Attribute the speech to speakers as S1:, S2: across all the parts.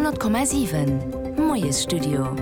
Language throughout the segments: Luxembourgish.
S1: 100,7 Moiesstudio.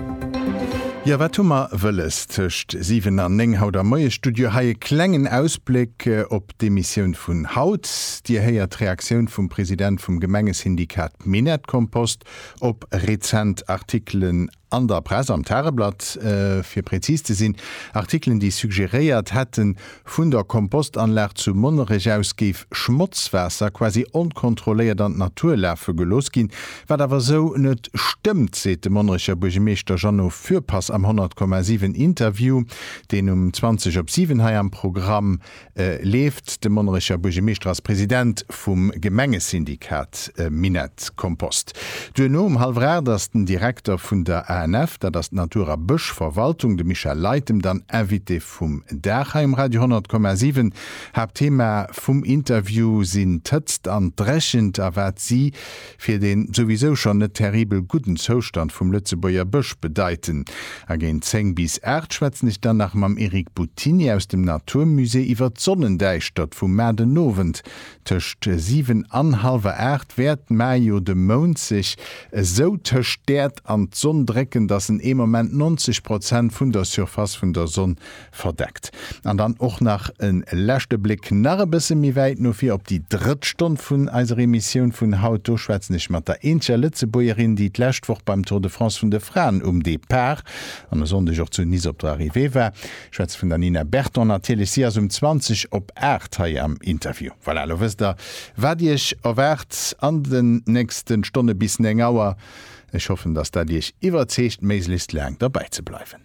S2: Jo, wat hu mer wëlles tëscht 7 an 9 haut am Moiesstudio? Hei e klengen Ausbléck op d'Emissioun vun haut. Dir héiert d'Reaktioun vum President vum Gemengesyndikat Minett-Kompost op rezent Artikelen An der Press, am Tageblatt fir präzis ze sinn, Artikelen déi suggeréiert hätten, vun der Kompostanlag zu Monnerech aus géif Schmotzwaasser quasi onkontrolléiert an d'Natur lafe gelooss ginn, wat awer esou net stëmmt, seet de Monnerecher Buergemeeschter Jeannot Fürpass am 100,7 Interview, deen um 20 op 7 hei am Programm Leeft. De Monnerecher Buergemeeschter ass President vum Gemengesyndikat Minett Kompost. Duerno um hallwer 8 ass den Direkter vun der ANF, dat ass d'Natur a Bëschverwaltung, de Michel Leytem, dann Invité vum Dag hei um Radio 100,7. Haaptthema vum Interview sinn d'Hëtzt an d'Dréchent a wat si fir deen souwisou schonn net terribel gudden Zoustand vum Lëtzebuerger Bësch bedeiten. A géint 10 bis 8 schwätzen ech dann nach mam Eric Buttini aus dem Natur Musée iwwer d'Sonnendäischtert vu mar den Owend. Tëscht 7 an hallwer 8 wäert mar jo de Mound sech esou tëscht d'Äerd an d'Sonn drécken, dass en ee Moment 90 Prozent vun der Surface vun der Sonn Verdeckt. An dann och nach e leschte Bléck nach e bësse méi wäit no vir op déi drëtt Stonn vun eiser Emissioun vun haut. Do schwätzen ech mat der eenzeger Lëtzebuergerin, déi d'lescht Woch beim Tour de France vun de Fraen um Depart an e Sonndeg och zu Nice op der Arrivée war. Ech schwätze vun der Nina Berton natierlech. Si ass um 20 op 8 hei am Interview. Voilà, elo wësst der, wat Iech erwaart an den nächste Stonne bis 9 Auer. Ech hoffen, dass dat Iech iwwerzeegt, méiglechst laang derbäi ze bleiwen.